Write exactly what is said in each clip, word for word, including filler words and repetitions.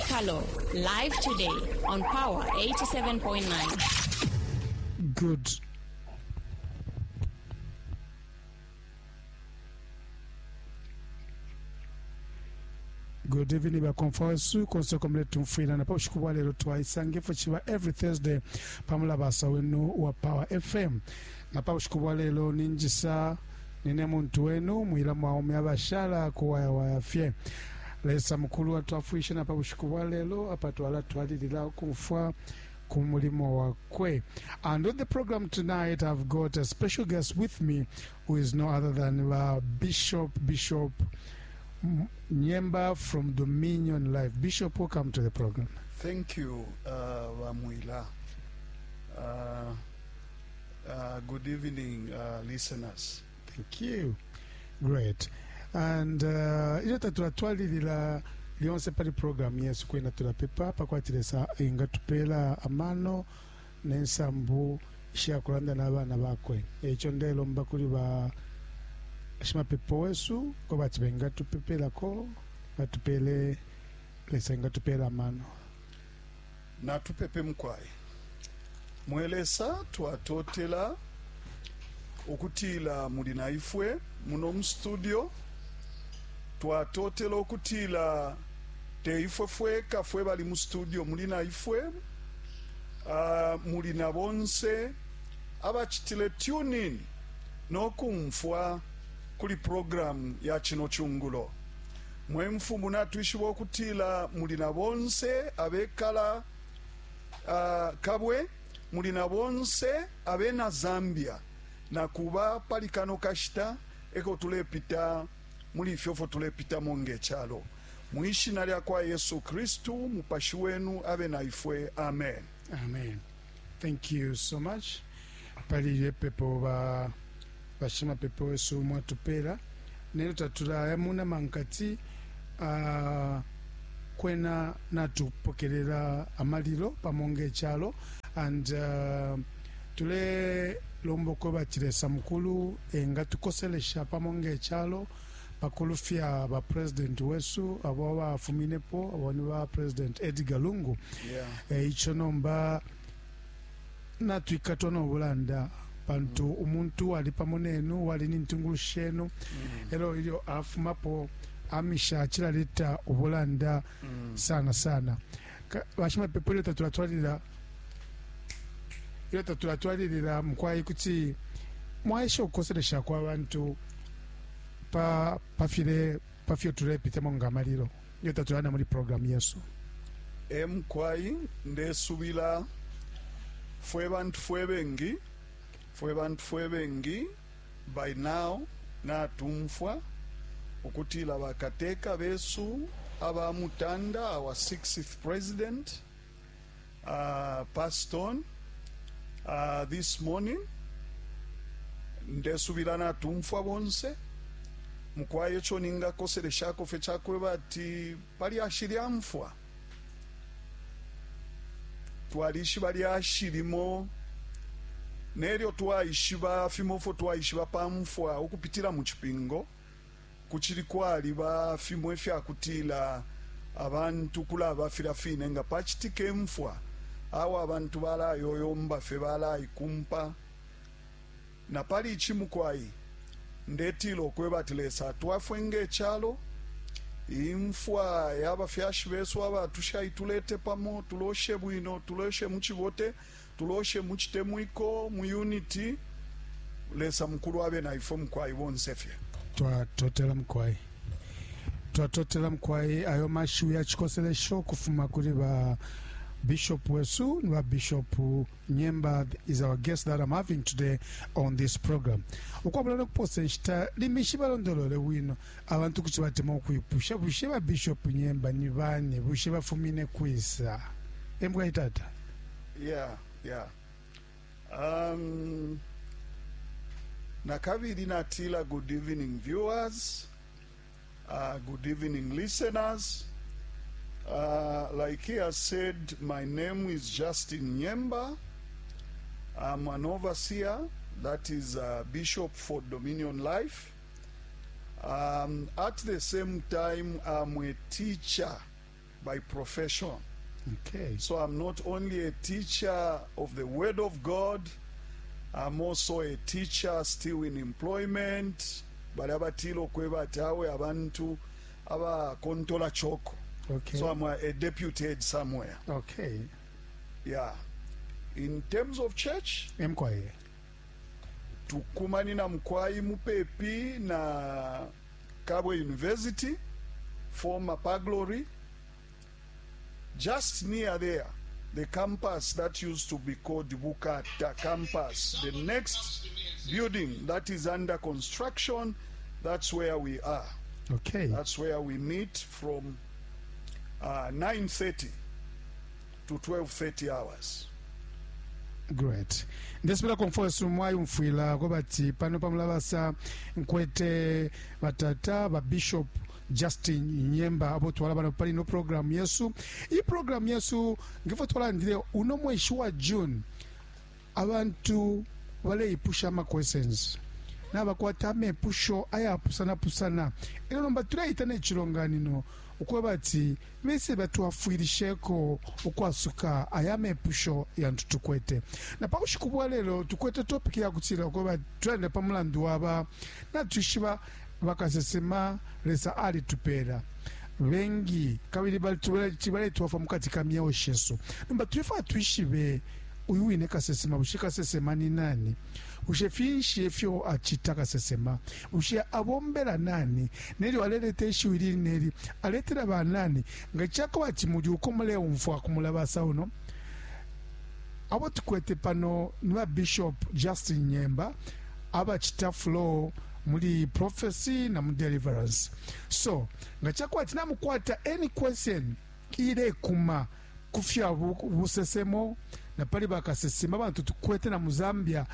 Mwikalo, live today on Power eighty-seven point nine. Good. Good evening, bakomfawesu konse komle tumfwila na paushiku bwa lero twaisange fo chiba every Thursday pamula basa wenu wa Power F M. Na paushiku bwa lero ninjisa nine muntu wenu mwila mwaume abashala kuwaya waya fye. Lesa mukulu atwafwishe na paushiku bwa lero apa twala twalilila kumfwa kumulimo wakwe. And on the program tonight I've got a special guest with me who is no other than uh, Bishop Bishop Nyemba from Dominion Life. Bishop, welcome to the program. Thank you, uh, Wamwila. Uh, uh, good evening, uh, listeners. Thank you. Great. And ilyo tatulatwalilila lyonse pali program yesu kwena tulapepa pakwatilesa ingatupela amano nensambu ishakulanda n'abana bakwe. Ekyo ndelomba kuli ba shimapepo wesu ko bati bengatupepelako batupele lesa ingatupela amano. Na tupepe mkwai. Mwelesa twatotela okutila muli naifwe muno mu studio. Twatotela okutila teifwe fweka fwe bali mu studio muli naifwe. Uh, muli na bonse abachitile tune in no kumfwa kuli program ya chino chungulo. Mwe mfumu natwishiba okutila muli na bonse abekala uh, kabwe muli na bonse abena Zambia na kuba pali kano kashita eko tulepita muli ifyofo tulepita monge chalo. Mwishina lya kwa Yesu Kristu mupashi wenu abe na ifwe. Amen. Amen. Thank you so much. Pali yepepo ba bashima pepo wesu mwatupela nelo tatula yamuna mankati uh, kwena natupokelela amalilo pamonge chalo and uh, tule lomboko batilesa mukulu enga tukoselesha pamonge chalo pakulufya ba president wesu abo bafuminepo abo ni ba President Edgar Lungu. Yeah. E, icho nomba natwikatwa nobulanda pantu mm. umuntu ali pamonenu wali nintungulu shenu mm. elo ilyo afumapo amisha chilaleta ubulanda mm. sana sana. Bashima pepo ilyo tatulatwalira ilyo tatulatwalira mkwai kuti mwaisha okukoselesha kwa bantu pa pafile pafyo tulepite mongamaliro ilyo tatulana muri program yesu. E mkwai ndesubila fwe bantu fwe bengi fwe bantu fwe bengi by now natumfwa ukutila bakateka besu aba mutanda our sixth president uh, passed on uh, this morning. Ndesubila natumfwa bonse mukwaye cho ningakoseleshako fe chakwe bati pali ashiri amfwa twalishi bali ashirimo neryo twaishiba fimofo twaishiba pamfwa okupitira mu chipingo kuchiri kwali ba fimwe fyakutila abantu kulaba filafine nga pachitike mfwa awo abantu balayoyomba fe balaikumpa na pali ichimukwai ndetilo kwebatilesa twafwenge echalo imfwa yabafyashi besu abatusha itulete pamo tuloshe bwino tuloshe muchibote tuloshe muchitemwiko mu unity lesa mukulu abe na ifo mkwai bonsefye. Twatotela mkwai twatotela mkwai ayo mashu ya chikoselesho kufuma kuli ba Bishop wesu ba Bishop Nyemba is our guest that I'm having today on this program. Ukwabula nokuposa nshita limishi balondolole wino abantu kuti batema okuipusha bushe ba Bishop Nyemba ni bani bushe bafumine kwisa embwa itata. Yeah, yeah. Um, nakabili natila good evening viewers, uh, good evening listeners. Uh, like he has said, my name is Justin Nyemba. I'm an overseer, that is a bishop for Dominion Life. Um, at the same time, I'm a teacher by profession. Okay. So I'm not only a teacher of the Word of God, I'm also a teacher still in employment. Bali abatila ukweba ati awe abantu abakontola choko. Okay. So I'm a, a deputy head somewhere. Okay. Yeah. In terms of church, Emkwaye. Tukumanina Mkwai mupepi na Kabwe University, former Paglory, just near there, the campus that used to be called Bukata campus, the next building that is under construction, that's where we are. Okay. That's where we meet from uh, nine thirty to twelve thirty hours. Great. Ndesipela komfosu mwayumfwila kwabati pano pamulabasa nkwete batata ba Bishop Justin Nyemba abo twala bano pali no program yesu. Iyi program yesu ngifo twalandile uno mweshi wa June, abantu baleipusha ama questions nabakwata amepusho ayapusana-pusana. Elo nomba tuleita nechilonganino ukweba ati bese batwafwilisheko ukwasuka aya mepusho yantu tukwete. Na pa bushiku bwa lelo tukwete topic yakutila ukweba tulande pa mulandu waba natwishiba bakasesema. Lesa alitupela bengi kabili baletwafa mukati ka myeo shesu. Nomba tulefa twishibe uyu wine kasesema. Bushe kasesema ni nani? Bushe finshi ifyo acita kasesema? Bushe abombela nani nelyo aleleta ishiwi lili neli aletela banani? Nga chakuba ati muli uko muleumfwa kumulabasa uno, abo tukwete pano ni ba Bishop Justin Nyemba abacita flow muli prophecy na mu deliverance. So nga chakuba ati namukwata any question ilekuma kufya busesemo na pali bakasesema bantu tukwete na muzambia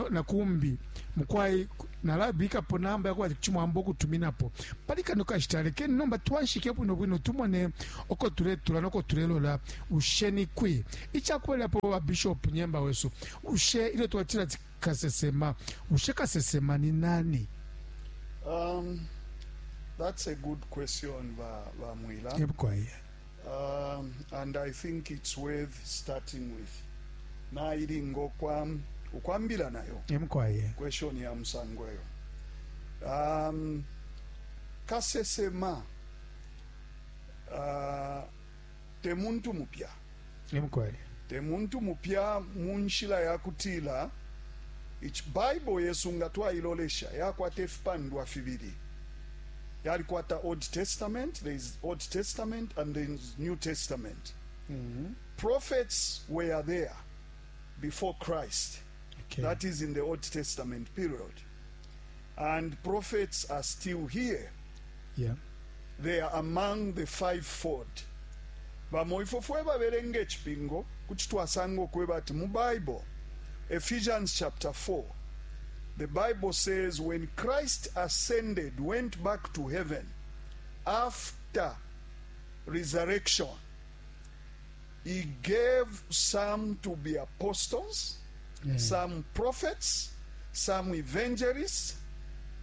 nakumbi, mukwai nalabikapo namba yakuba chimwamba okutuminapo pali kano kashita. Lekeni nomba twanshike bwino bwino tumone oko tuletula noko tulelola. Ushe ni kwi ichakubalilapo ba Bishop Nyemba wesu, ushe ilyo twatila ati kasesema, ushe kasesema ni nani? Um, that's a good question, ba, ba Mwila. Ebukwaye. Um, and I think it's worth starting with. Nailinga okwam ukwambila nayo Emukwaye. Question ya musango eyo. Um, kasesema uh, te muntu mupya. Emukwaye. Te muntu mupya munshila yakutila ichi Bible yesu nga twailolesha yakwata efipandwa fibili, yalikwata Old Testament. There is Old Testament and there is New Testament. mm -hmm. Prophets were there before Christ. Okay. That is in the Old Testament period, and prophets are still here. Yeah. They are among the fivefold. Bamo ifo fwe babelenga echipingo kuti twasanga okweba ati mu Bible, Ephesians chapter four, the Bible says when Christ ascended, went back to heaven after resurrection, he gave some to be apostles, Yeah. some prophets, some evangelists,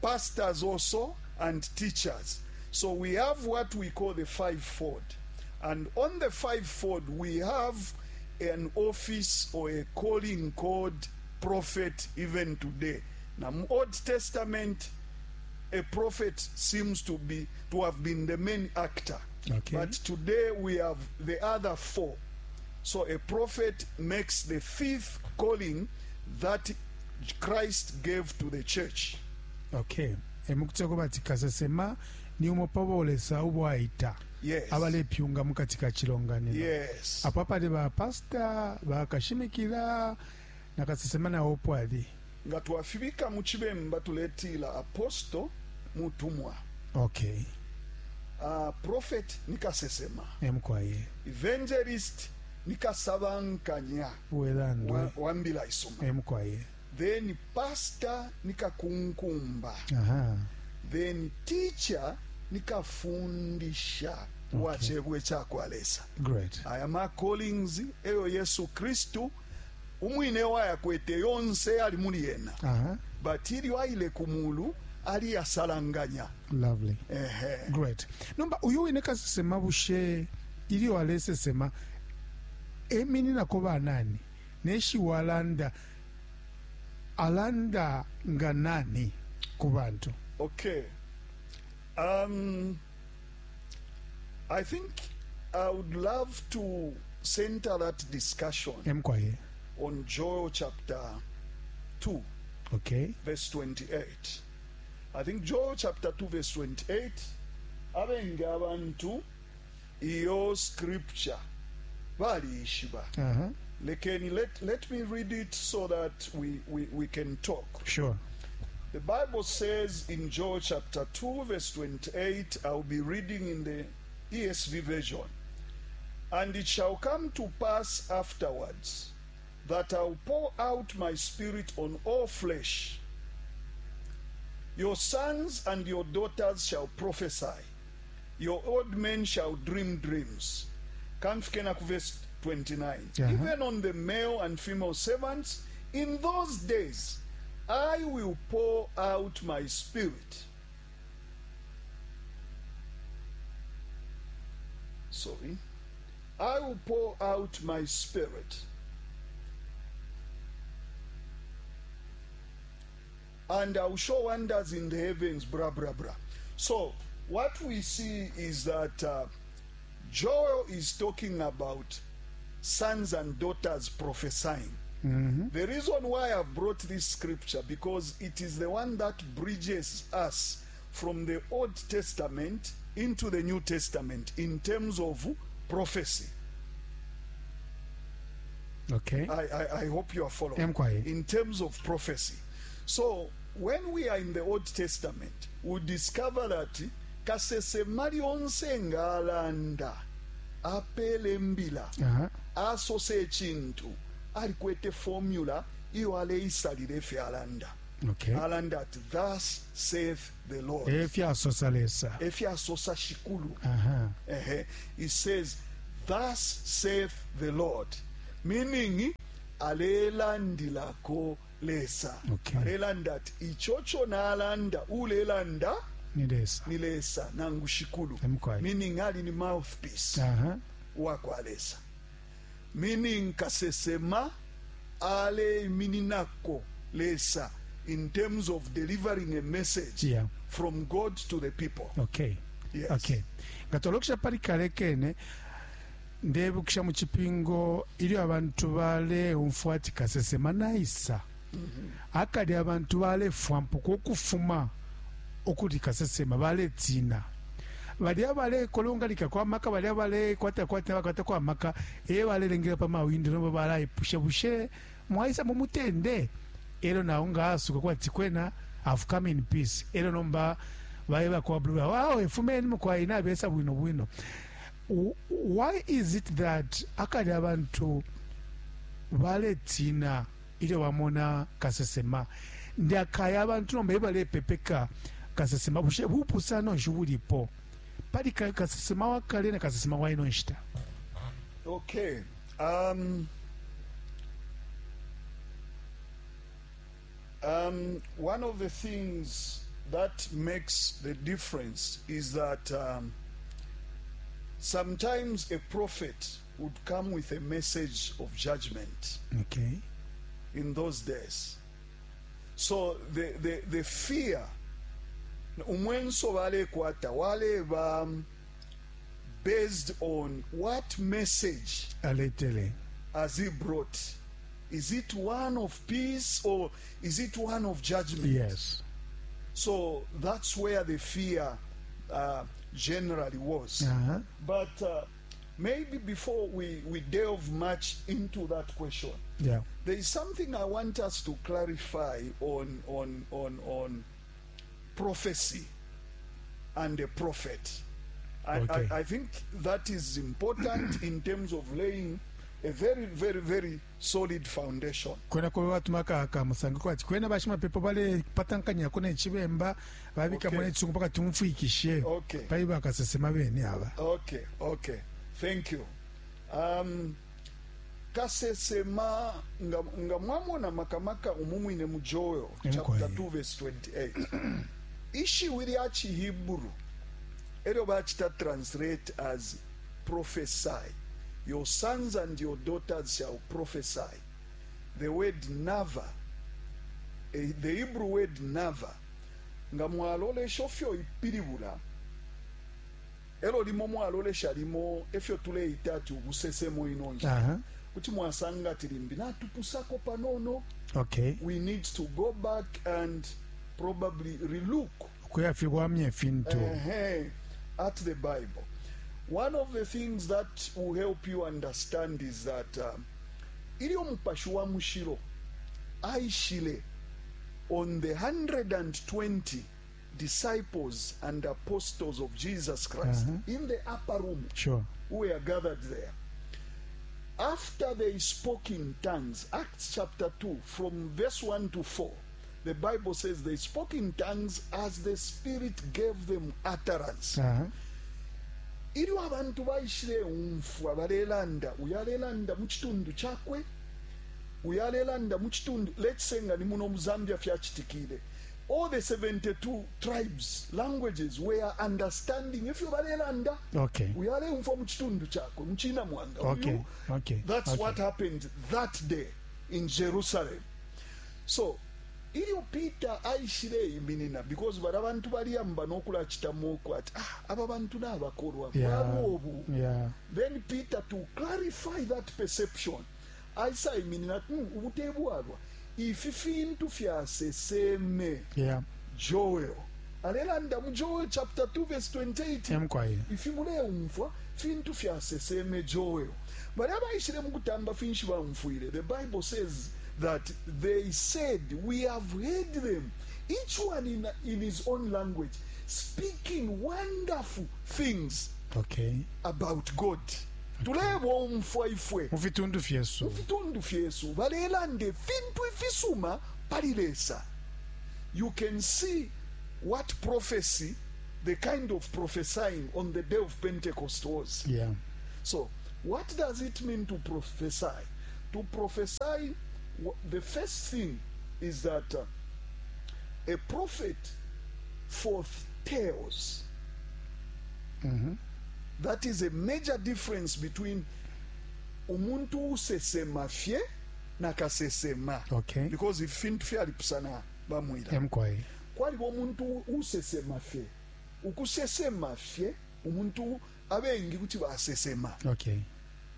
pastors also, and teachers. So we have what we call the fivefold. And on the fivefold, we have an office or a calling called prophet even today. Now, Old Testament, a prophet seems to be to have been the main actor. Okay. But today we have the other four. So a prophet makes the fifth calling that Christ gave to the church. Okay, emukuteko bati kasesema ni umo pabolesa ubwaita Yes. abalepyunga mukati ka chilonganiro. Yes. Apo apali ba pastor bakashimikila na kasesema nawo pwali. Nga twafibika mu chibemba tuletila apostle mutumwa. Okay. Uh, prophet ni kasesema. Emukwaye. Evangelist ni kasabankanya welandwe wa, wambila isoma. Emukwaye. Then pastor ni kakunkumba. Aha. Then teacher ni kafundisha Okay. wa chebwe chakwalesa. Great. Aya ma callings eyo Yesu Kristu umwine wayakwete yonse ali muli yena, Aha. but ilyo aile ku mulu Aliyasalanganya. Lovely. Ehe. Great. Nomba uyu wine kasesema, bushe ilyo alesesema emininako banani? Neshiwi alanda, alanda nga nani ku bantu? Okay. Um, I think I would love to center that discussion Emkwaye. on Joel chapter two, Okay. verse twenty-eight. I think Joel chapter two, verse twenty-eight, abengi abantu iyo scripture baliishiba. Uh-huh. Lekeni, let, let me read it so that we, we, we can talk. Sure. The Bible says in Joel chapter two, verse twenty-eight, I'll be reading in the E S V version. "And it shall come to pass afterwards that I'll pour out my spirit on all flesh. Your sons and your daughters shall prophesy. Your old men shall dream dreams." Kamfikena ku verse twenty-nine. Uh-huh. "Even on the male and female servants, in those days, I will pour out my spirit." Sorry. "I will pour out my spirit. And I will show wonders in the heavens," blah, blah, blah. So, what we see is that uh, Joel is talking about sons and daughters prophesying. The reason why I've brought this scripture, because it is the one that bridges us from the Old Testament into the New Testament in terms of prophecy. Okay. I, I, I hope you are following. Emkwaye. In terms of prophecy. So, when we are in the Old Testament, we discover that kasesema lyonse nga alanda apele mbila, Uh-huh. asosa ekintu, alikwete formula iyo aleisalira efyo alanda. Okay. Alanda ati, "Thus saith the Lord." Efyasosa Lesa. Efyasosa Shikulu. Aha. Ehe. He says, "Thus saith the Lord," meaning alelandilako Lesa. Okay. Alelanda ati ichocho nalanda ulelanda Ni Lesa. ni Lesa nangu Shikulu. Emkwaye. Meaning ali ni mouthpiece Aha. wakwa Lesa, meaning kasesema aleimininako Lesa in terms of delivering a message Yeah. from God to the people. Okay. Yes. Okay, nga twalokesha pali kale kene, ndebukisha mu Chipingo ilyo abantu baleumfwa ati kasesema naisa, akali abantu balefwampuka ukufuma ukuli kasesema, baletina. Balya balekolongalika kwa maka, balya balekwatakwata bakwata kwa maka, e balelengela pa mawindo, nomba balaipusha, "Bushe mwaisa mumutende?" Elo nawo ngaasuka kwati, "Kwena, I've come in peace." Elo nomba baeba kwa blue, "Wawe fumeni mukwaina abesa bwino bwino." W- why is it that akali abantu baletina ilyo bamona kasesema, ndakaya abantu nomba ebalepepeka kasesema? Bushe bupusano nshi bulipo pali ka- kasesema wakale na kasesema waino nshita? Okay. Um, um, one of the things that makes the difference is that um, sometimes a prophet would come with a message of judgment okay in those days. So the, the, the fear, umwenso balekwata waleba um, based on what message aletele. Has he brought? Is it one of peace or is it one of judgment? Yes. So that's where the fear uh, generally was. uh-huh. But uh, maybe before we, we delve much into that question, yeah there is something I want us to clarify on, on, on, on prophecy and the prophet. I, Okay. I, I think that is important in terms of laying a very, very, very solid foundation. Kwena kuba batumaka akamusango kwati kwena bashimapepo balepatankanyako nechibemba babikamo Okay. nechisungu paka tumfwikishe Okay. pali bakasesema bene aba. Okay, okay. Thank you. Um, kasesema nga, nga mwamona makamaka umumwine mu Joel chapter Emkwaye. two verse twenty-eight. Ishiwi lya Chihebrew elyo bachita translate as prophesy. Your sons and your daughters shall prophesy. The word nava, eh, the Hebrew word nava, nga mwalolesha ofyo ipilibula, elo limo mwalolesha limo efyo tuleita ati ubusesemo ino nshita. Aha. Kuti mwasanga ati limbi natupusako panono. Okay. We need to go back and probably relook Ukuyafiwamya ifintu. uh at the Bible. One of the things that will help you understand is that um, ilyo mupashi wa mushilo aishile on the one hundred twenty disciples and apostles of Jesus Christ Uh-huh. in the upper room Sure. who were gathered there. After they spoke in tongues, Acts chapter two, from verse one to four, the Bible says they spoke in tongues as the Spirit gave them utterance. Aha. Ilyo abantu baishile umfwa balelanda, uyu alelanda mu kitundu kyakwe, uyu alelanda mu kitundu, let's say nga ni muno mu Zambia fyachitikile, all the seventy-two tribes, languages were understanding ifyo balelanda. Okay. Uyu aleumfwa mu kitundu kyakwe, mu china mwanga. Okay. Uyu- Okay. That's okay. what happened that day in Jerusalem. So ilyo Peter aishile iminina, because bali abantu baliyamba n'okulakitamuku ati, "Ah, aba bantu n'abakolwa Yeah. bwabwe obu." Yeah. Then Peter, to clarify that perception, aisa iminina, mm, ubutebwalwa ifi fintu fyaseseme Yeah. Joel." Alelanda mu Joel chapter two verse twenty-eight. Emkwaye. Ifi muleumfwa fintu fyaseseme Joel. Bali abaishile mu kutamba finshi bamfwile? The Bible says that they said, "We have heard them, each one in, in his own language, speaking wonderful things Okay. about God." Tulebomfwa ifwe Mu fitundu fyesu. Mu fitundu fyesu balelanda ifintu ifisuma pali Lesa. You can see what prophecy, the kind of prophesying on the day of Pentecost was. Yeah. So what does it mean to prophesy? To prophesy, wh- the first thing is that uh, a prophet foretells. That is a major difference between umuntu usesema fye na kasesema, Okay. because ifintu fyalipusana bamwira. Emkwaye. Kwaliba umuntu usesema fye, ukusesema fye, umuntu abengi kuti basesema. Okay.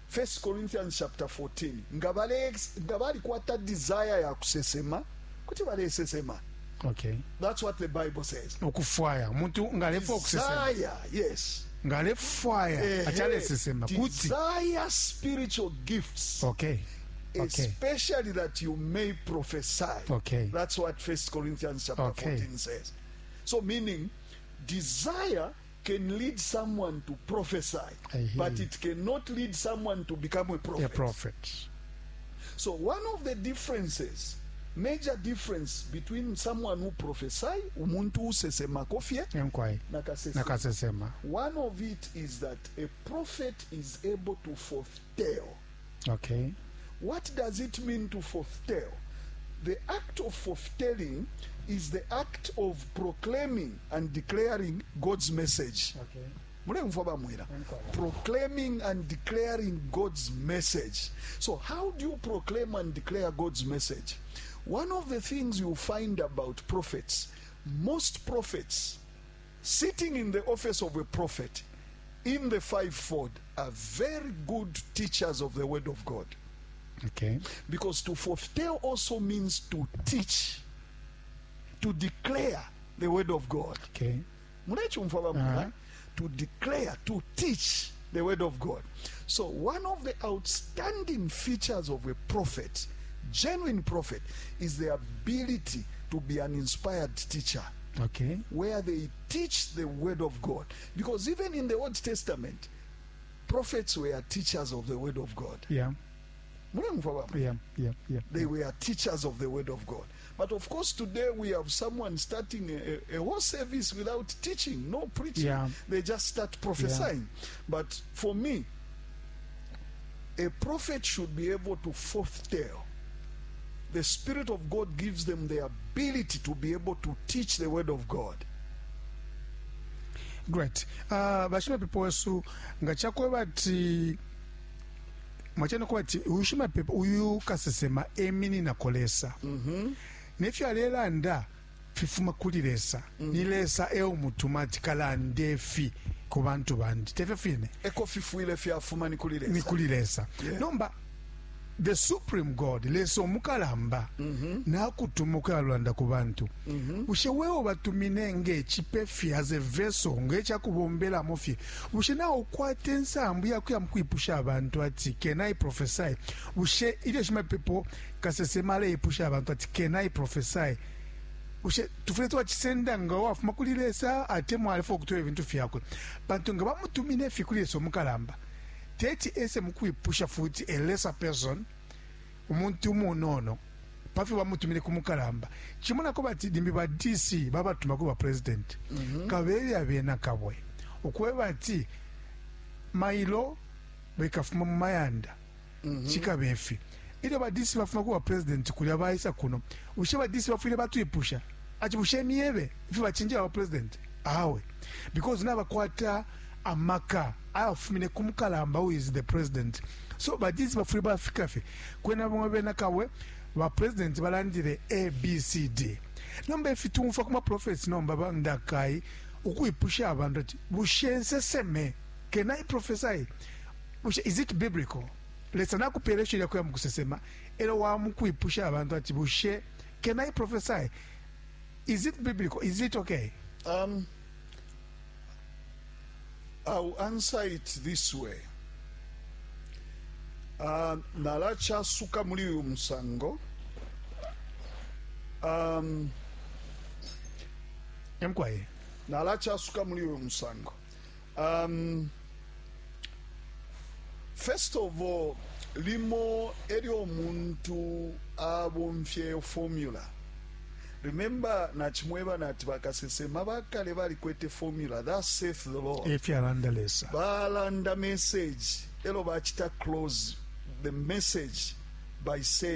First Corinthians chapter fourteen, nga bale nga balikwata desire ya kusesema kuti balesesema. Okay. That's what the Bible says. Ukufwaya umuntu ngalefwa ukusesema. Desire, yes. Ngalefwaya Ehe. achalesesema kuti. Desire spiritual gifts, Okay. Okay. especially that you may prophesy. Okay. That's what First Corinthians chapter Okay. fourteen says. So meaning, desire can lead someone to prophesy, I hear but you. it cannot lead someone to become a prophet. A prophet. So one of the differences, major difference between someone who prophesy, umuntu usesemako fye, Emkwaye. na kasesema. Nakasesema. One of it is that a prophet is able to foretell. Okay. What does it mean to foretell? The act of foretelling is the act of proclaiming and declaring God's message. Okay. Mulemfwa bamwira? Proclaiming and declaring God's message. So how do you proclaim and declare God's message? One of the things you find about prophets, most prophets sitting in the office of a prophet in the fivefold are very good teachers of the word of God, Okay. because to foretell also means to teach, to declare the word of God. Okay. Mulechumfwa bamwira? Uh-huh. To declare, to teach the word of God. So one of the outstanding features of a prophet, genuine prophet, is the ability to be an inspired teacher, Okay. where they teach the word of God, because even in the Old Testament, prophets were teachers of the word of God. Yeah. Mulemfwa bamwira? Yeah. Yeah. Yeah. They were teachers of the word of God. But of course, today we have someone starting a, a, a whole service without teaching, no preaching. Yeah. They just start prophesying. But for me, a prophet should be able to foretell. The Spirit of God gives them the ability to be able to teach the word of God. Great. Uh, bashimapepo wesu, nga chakweba ati mwachana kuba ati uyu shimapepo, uyu kasesema emininako Lesa, mm -hmm. nefyo alelanda fifuma kuli Lesa. mm -hmm. Ni Lesa eumutuma ati kalande fi ku bantu bandi, tefyo fine eko fifwile fyafuma ni kuli Lesa, ni kuli Lesa. Yeah. Nomba the supreme God, Lesa omukalamba, mm -hmm. nakutuma okuyalanda ku bantu. mm -hmm. Bushe wewe batumine ngechipe fye as a vessel, ngechakubombelamo fye, bushe nawe ukwate nsambu yakuya mukwipusha abantu ati can I prophesy? Bushe ilyo shimapepo kasesema aleipusha abantu ati can I prophesy, bushe tufule twachisenda nga wafuma kuli Lesa atemwa alefo kutoa ebintu fyakwe? Bantu nga bamutumine fye kuli Lesa omukalamba, teti ese mukwipusha futi a lesser person, umuntu umunono pafi bamutumire kumukalamba. Chimona ko bati limbi ba D C babatuma ku ba president, mm -hmm. kabeli abena kabwe okweba ati mailo bekafuma mu mayanda, mm -hmm. chikabefi ile ba D C bafuma ku ba president kulya baisa kuno, ushe ba D C bafwile batuipusha ati bushe miebe ifi bachinja ba president awe, because nabakwata amaka ayafumine kumukalamba who is the president. So ba D C bafwile bafika fe kwena bamwe bena kawe ba president balandile A B C D. Nomba ifi tumfa kuma prophets nomba bandakai ukuipusha abantu ati bushe nseseme, can I prophesy? Bushe is it biblical? Lesa nakupelesha ile kuya mukusesema elo wa mukuipusha abantu ati bushe can I prophesy? Is it biblical? Is it okay? Um I'll answer it this way. Uh, nalachasuka muri uyu musango. Um, Emkwaye. Nalachasuka muri uyu musango. Um, first of all, limo elyo muntu abomfye formula. Remember nachimweba nati bakasesema bakale balikwete formula, thus saith the Lord. Efyalanda Lesa. Balanda message, elo bachita close the message by saying